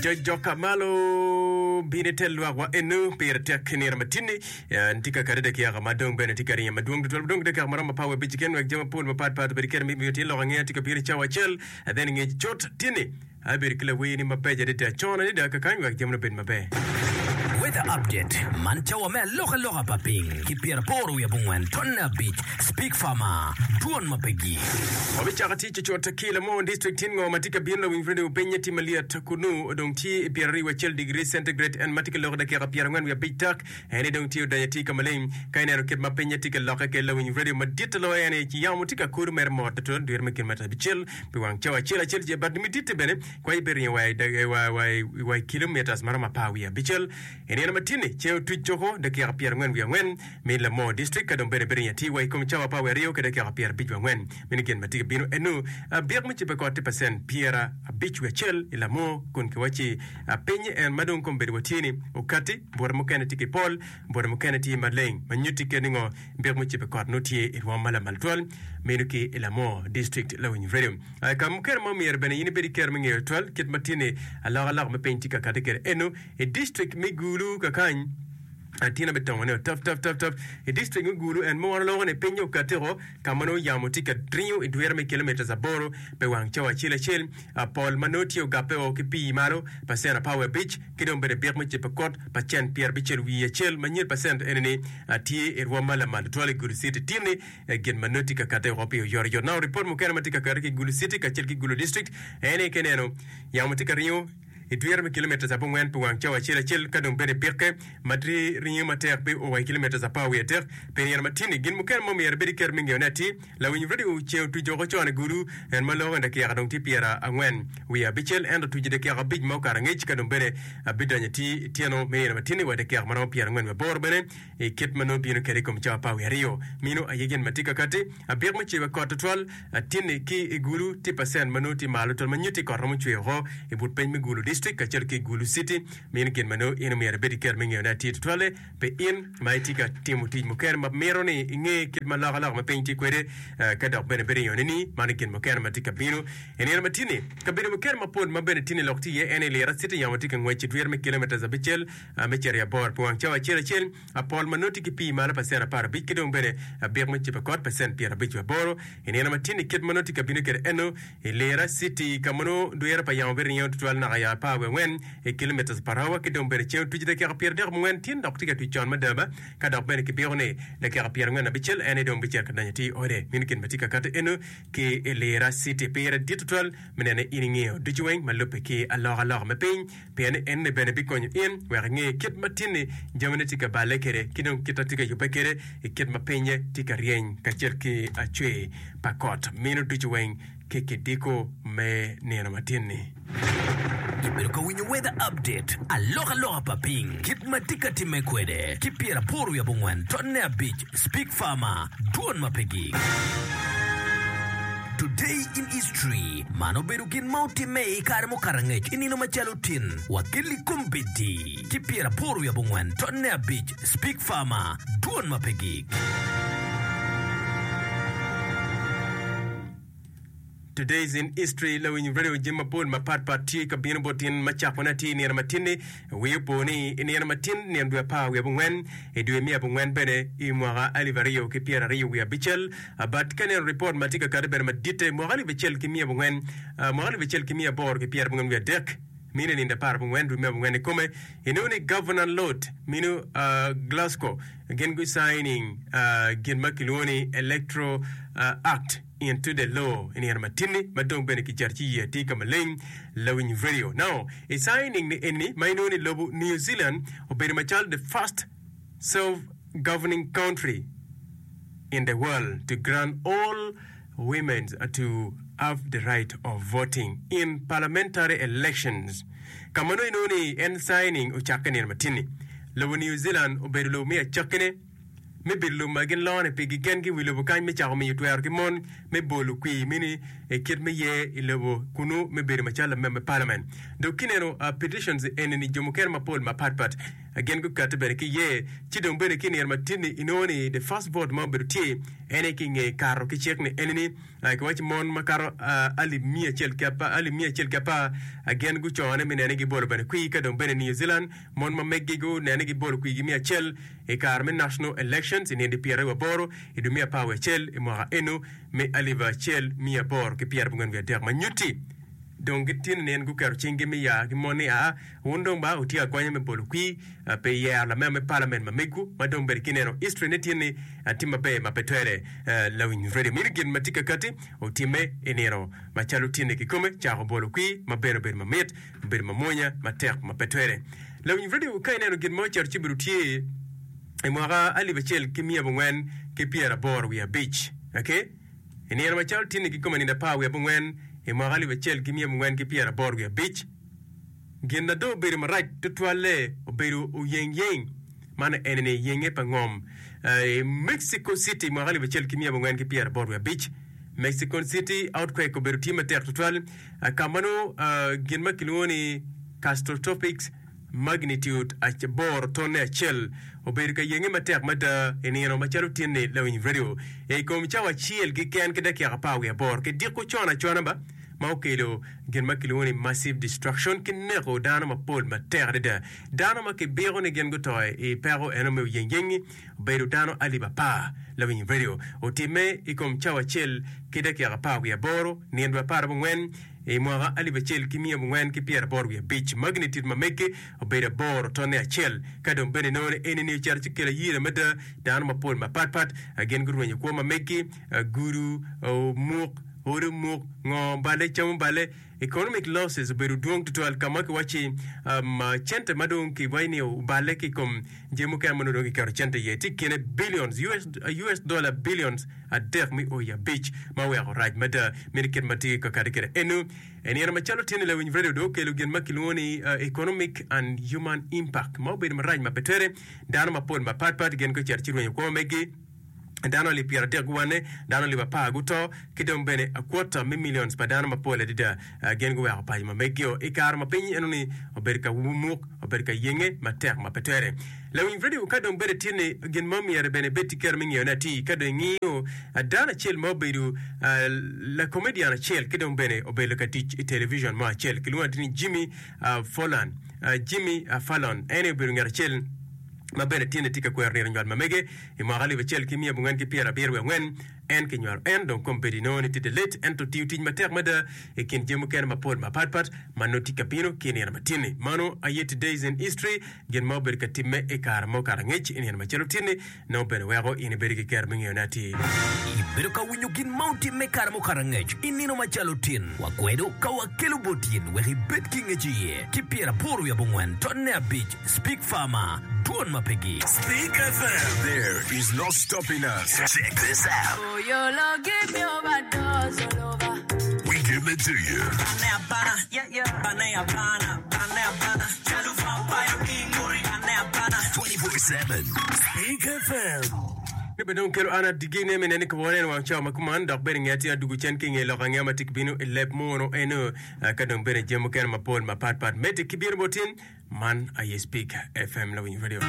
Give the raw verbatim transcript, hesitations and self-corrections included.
Jojoka malo bino ite lwakwa enu pire tek nino matinni tye ka kati dakika ma dong bene tye ka ringo madwong tutwal dong dakika maromo apar wiye abic keken wek jami mapol mapat pat obed kene miyo tye lok angeya tye ka bino i cawa acel then ngec cut tinni abedo ki lawerni mabeco adada con adada kakany wek jamine obed maber. Weather Update, Man cawa me alokaloka pa piny ki pyeraboro wiye abongwen tonne abic Speak Farmer, Dwon ma pe gik. Wabicako tic cucut ki Lamon District tin ngo ma tye ka bino lawiny radio pinye tye malyet kunu odong tye i pyeraryo wiye acel degree centigrade en ma tye ka loko dakika pyerangwen wiye abic tak en aye dong tye odonyo atir ka maleng ka ineno kit ma pinye tye ka lokke kwede lawiny radio madit loyo en aye ci yamo tye ka kodo mere mot tutwal dwiro me kilometer abicel pi wang cawa acel acel ci but mititte bene kwayi biringo wa wa i kilometers maromo apar wiye abicel I nino ma tye-ni, ceng otuc coko dakika pyerangwen wiye angwen me Lamor District ka dong bene biringo atir wa i kom cawa apar wiye aryo ki dakika pyerabic wiye angwen. Meno gin ma tye ka bino eno. Byek me cibbe kot tye pacent pyerabic wiye acel i Lamor kun kiwacci piny en ma dong kombeddi watye-ni okatti, bute mukene tye ki pol, bute mukene tye maleng ma nyutti kit ni ngo byek me cibbe kot nongo tye i rwom ma lamal twal meno ki i Lamor District. Lawiny Radio. Ka mukene ma omyero bene in ibed ki kero me ngeyo twal kit ma tye-ni alokaloka me piny tye ka kati kwede eno. I distrik me Gulu kakany, atina me tongo ne otap tap tap tap. I distrik me Gulu en ma wan oloko ni pinye okatiko ka ma nongo yamo tye ka ringo i dwira me kilometres aboro pi wang cawa acel acel. Pol ma nongo tye ogape o ki pii malo pacent apar wiye abic ki dong bene byek me cippa kot pacent pyerabicel wiye acel ma nyero pacent eni ni tye i rwom ma lamal tutwal i Gulu City. Tin ni gin ma nongo tye ka kate woko pi oyotoyot. Now ripot mukene ma tye ka kati ki Gulu City kacel ki Gulu District en aye ka ineno yamo tye ka ringo i dwira me kilometres abongwen pi wang cawa acel acel ka dong bene pikke ma ringo matek pi o wa i kilometres apar wiye adek pi nino ma tye-ni. Gin mukene ma omyero ibed ki kero me ngeyone atir, lawiny redio ceng otuco woko con i gudu en ma loko i dakika dong tye pyera angwen wiye abicel ento otuco i dakika abic ma okato angec ka dong bene bidonyo atir i tyeno me nino ma tye-ni wa i dakika ma romo pyera angwen wiye aboro bene i kit ma nongo bino kwede i kom cawa apar wiye aryo. Meno aye gin ma tye ka katti. Abik me ceba kot tutwal tinni ki i Gulu tye pacent ma nongo tye malo tutwal ma nyutti kot romo cwer woko i but piny me Gulu District kacel ki Gulu City. Meno gin ma nongo in omyero ibed ki kero me ngeyone atir tutwalle pi in ma itye ka timo tic mukene ma mito ni inge kit ma alokaloka me piny tye kwede ka dok bene ibedo iyone ni mano gin mukene ma tye ka bino i nino ma tye-ni. Kabedo mukene mapol ma bene tye-ni lok tye iye en aye Lira City yamo tye ka ngwec i dwiro me kilometres abicel me cito i aboro pi wang cawa acel acel. Pol ma nongo tye ki pii malo pacent apar abic ki dong bene abik me cibo kot pacent pyerabic wa aboro. I nino ma tye-ni kit ma nongo tye ka bino kwede eno i Lira City ka ma nongo dwiro pa yamo biringo tutwal naka i apar wiye angwen i kilometres per hour ki dong bene ceng otuco dakika pyeradek abongwen tyen dok tye ka tuc con mada ba ka dok bene kibiko ni dakika pyerangwen abicel en aye dong bicito ka donyo atir i ode. Meno gin ma tye ka kati eno ki i Lira City. Pire dit tutwal me neno ni in ingeyo ducu weng ma lubbe ki alokaloka me piny. Pien ni enni bene bikonyo in wek inge kit ma tinni jamine tye ka balle kwede ki dong kit ma tye ka yubbe kwede i kit ma pinye tye ka ryeny kacel ki acwer pa kot meno ducu weng ki kidiko me nino ma tinni. Ibedo ka winyo Weather Update, alokaloka pa piny, kit ma tye ka timme kwede, ki pyeraboro wiye abongwen tonne abic, Speak Farmer, Dwon ma pe gik. Today in History, Man obedo gin ma otimme i kare mukato angec i nino macalo tin wa kelli kombeddi ki pyeraboro wiye abongwen tonne abic Speak Farmer, Dwon ma pe gik. Today's in History, Lawiny radio jami mapol mapat pat tye ka bino bot in ma cakone atir i nino matin-ni. Wii opo ni i nino matin, nino dwe apar wiye abongwen, i dwe me abongwen bene i mwaka alip aryo ki pyeraryo wiye abicel, But ka ineno ripot ma tye ka kati bene maditte, mwaka alip acel ki miya abongwen, mwaka alip acel ki miya aboro ki pyerabongwen wiye adek, mino i nindo apar abongwen dwe me abongwen ikome, inongo ni Governor Lord mino Glasgow gin gu signing gin ma kilwongo ni Electoral Act into the law i nino matinni ma dong bene kicato ci iye atir ka maleng lawiny radio. Now, i signing ni eni ma inongo ni lobo New Zealand obedo macalo the first self-governing country in the world to grant all women to have the right of voting in parliamentary elections. Ka ma nongo inongo ni en signing ocakke nino matin-ni, lobo New Zealand obedo lobo me acakkine me bedo lobo ma gin lone pigi kengi i wi lobo kany me cako miyo twero ki mon me bolo kwir mini i kit me ye i lobo kunu me bedo macalo lamem me parliament. Dok kineno petitions eni-ni jo mukene mapol mapat pat Gin gukati bene ki iye. Ci dong bene ki i nino ma tin-ni inongo ni the first vote ma obedo tye en aye ki i nge kato ki cik ni eni-ni kiwaco mon makato alip miya acel ki apar alip miya acel ki apar gin gucone me nene ni gibolo bene kwir ka dong bene New Zealand mon ma meggi gunene ni gibolo kwirgi miya acel i kare me national elections i nino pyeraryo wiye aboro i dwe me apar wiye acel i mwaka eno me alip acel miya aboro ki pyerabongwen wiye adek ma nyutti Dong gitino nin guketo cinggi me ya ki mon ni, Aa, wun dong ba wutye agonya me bolo kwir pi yero lamema me palament ma megwu, ma dong bene kineno history ne tye ni tye maber ma pe twere. Lawiny radio mini gin ma tye ka kati otimme i nino macalo tinni kikome cako bolo kwir ma bene obedo mamit, obedo mamwonya matek ma pe twere. Lawiny radio ka ineno gin ma ocito ci obedo tye i mwaka alip acel ki miya abongwen ki pyeraboro wiye abic, okay? I nino macalo tinni kikome nino apar wiye abongwen i mwaka alip acel ki miya abongwen ki pyeraboro wiye abic, gin na dong obedo marac tutwalle obedo oyengyeng, man ene ni yenge pa ngom i Mexico City i mwaka alip acel ki miya abongwen ki pyeraboro wiye abic. Mexico City earthquake obedo tye matek tutwal ka ma nongo gin ma kilwongo ni catastrophic Magnitude aboro tonne acel obedo ka yenge matek mada i nino macalo tin-ni lawiny redio i kom cawa acel keken ki dakika apar wiye aboro ki diko con acona ba ma okelo gin ma kilwongo ni massive destruction ki neko dano mapol matek adada. Dano ma kibiko ni gin guto i peko eno me oyengyeng-ngi obedo dano alip apar. Lawiny redio otimme i kom cawa acel ki dakika apar wiye aboro nino dwe apar abongwen I mwaka alip acel ki miya abongwen ki pyeraboro wiye abic, magnitude ma mege obedo aboro tonne acel. Ka dong bene inongo ni eni-ni ocito ci kelo ayira mada, dano mapol mapatpat gin gurwenyo kwo ma megi, gudo omuk, odi omuk, ngo oballe, cam oballe. Economic losses obedo dwong tutwal ka ma kiwacci cente ma dong kiwaco ni oballe ki i kom jami mukene ma nongo dong kiketo cente iye tye i kine billions, US dollar billions. adek me o i abic ma oweko rac mada. Meno kit ma tye ka kati kwede eno. I nino macalo tye-ni lawiny redio dong okelo gin ma kilwongo ni Economic and Human Impact ma obedo marac ma pe twere. Dano mapol mapat pat gin gucito ci rwenyo kwo megi. Dano alip pyeradek guwanne, dano alip apar guto, ki dong bene a quarter me millions pa dano mapol adada gin guweko paco ma megio i kare ma piny enoni obedo ka muk, obedo ka yenge matek ma pe twere. Lawiny redio ka dong bedo tye ni gin mo myero bene ibed ki kero me ngiyone atir. Ka dong ingiyo dano acel ma obedo lakomedian acel ki dong bene obedo ka tic i television mo acel kilwongo atir ni Jimmy Fallon, Jimmy Fallon, en aye obedo ngat acel ma bene tye ni tye ka kwero nino nywal ma mege i mwaka alip acel ki miya abongwen ki pyerabiro wiye angwen. En kinywalo en dong kombeddi inongo ni tye delet ento tiyo tic matek mada i kin jami mukene mapol mapatpat ma nongo tye ka bino ki i nino matin-ni. Mano aye Today's in History, gin ma obedo ka timme i kare ma okato angec i nino macalo tin-ni nongo bene weko in ibedo ki kero me ngeyone atir. Ibedo ka winyo gin ma otimme i kare mukato angec i nino macalo tin. Wakwedo ka wakelo bot in wek ibed ki ngec iye ki pyeraboro wiye abongwen tonne abic Speak Farmer, Dwon ma pe gik. Speak F M. There is no stopping us. Check this out. We give it to you. Twenty-four seven. Speak F M. Ni bene dong kelo an adigine me neni kwo en wang cawa ma kuman dok bene nge atir adugu cen ki nge lok angeya ma tye ki bino i leb munu eno ka dong bene jami mukene mapol mapat pat medde ki bino botin. Man aye Speak F M Lawiny Radio.